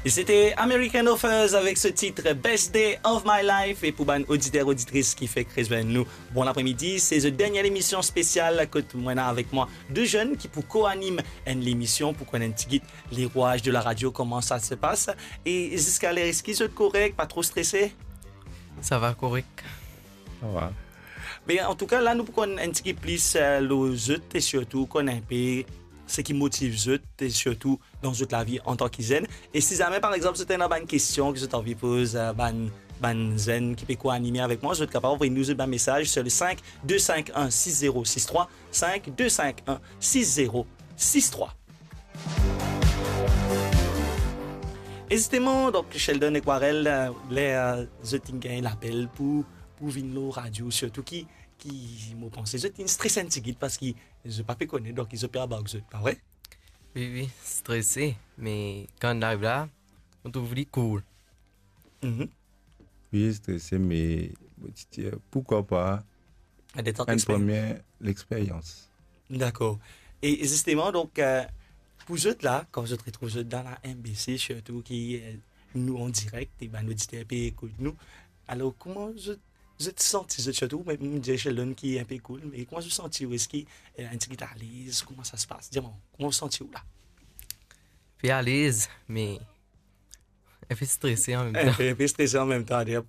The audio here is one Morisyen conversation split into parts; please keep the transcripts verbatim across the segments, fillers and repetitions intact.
E sete American Authors avek so tit Best Day of My Life. E pou bann oditer, oditris ki fek rezwenn nou, bon lapre-midi. Se zot dernie lemision spesial kot mo ena avek mwa de zenn ki pou ko-anim enn lemision pou konn enn tigit le rouaz de la radio, kouma sa se pas. E ziska ler, eski zot korek, pa tro strese? Sa va korek. Sa va. Me antouka, la nou pou konn enn tigit plis, eh, lor zot e sirtou konn enpe seki motiv zot e sirtou dan zot lavi antan ki zenn. E si zame, par exanp, zot ena bann kestion ki zot anvi poz, eh, bann, bann zenn ki pe ko-anime avek mwa, zot kapav anvoy nou zot bann mesaz sur le cinq deux cinq un six zéro six trois, cinq deux cinq un six zéro six trois. E zisteman, donk, Sheldon ek Warel, eh, ler, eh, zot inn gagn lapel pou, pou vinn lor radio, sirtou ki, ki, mo panse, zot inn strese enn tigit parski zot pa pe kone, donk zot pe anbark zot, pa vre? Wi, wi, strese, me kan ariv la, mo trouv li cool. Mhm. Wi, strese, me mo ti dir, pourquoi pas enn premie lexperyans. Dakor. E zisteman, donk, eh, pou zot la, kan zot retrouv zot dan la M B C, sirtou ki, eh, nou an direk, e bann oditer pe ekout nou, alor, kouma zot, zot santi zot, sirtou, me, mo dir Sheldon ki enpe cool, me kouma zot santi ou? Eski, eh, enn tigit alez? Kouma sa se pas? Dir mwa, kouma zot santi ou la? Pe alez, me enpe strese an mem tan. Enpe, enpe strese an mem tan, ader,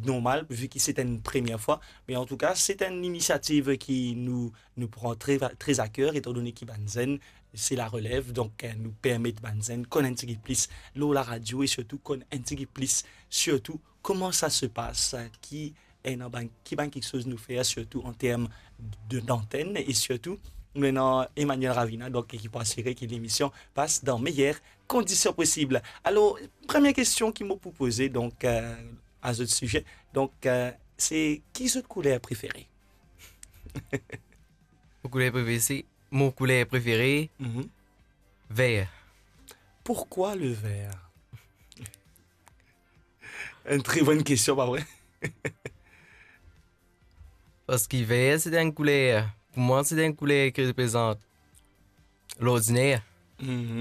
normal, vi ki se enn premie fwa. Me antouka, se enn inisiativ ki nou, nou pran tre, tre a ker, etandone ki bann zenn, se larelev, donk, eh, nou permet bann zenn konn enn tigit plis lor laradio e sirtou konn enn tigit plis, sirtou, kouma sa se pas, eh, ki ena bann, ki bann kiksoz nou fer, sirtou an term de, dantenn, e sirtou, nou ena Emmanuel Ravina, donk, ki pou asire ki lemision pas dan meyer kondision posib. Alor, premie kestion ki mo pou poze, donk, eh, a zot size, donk, eh, se ki zot kouler prefere? Mo kouler prefere, se, mo kouler prefere, mhm, ver. Pourquoi le vert? Enn tre bonn kestion, pa vre? Parski ver, se enn kouler, pou mwa, se enn kouler ki reprezant lordiner. Mhm.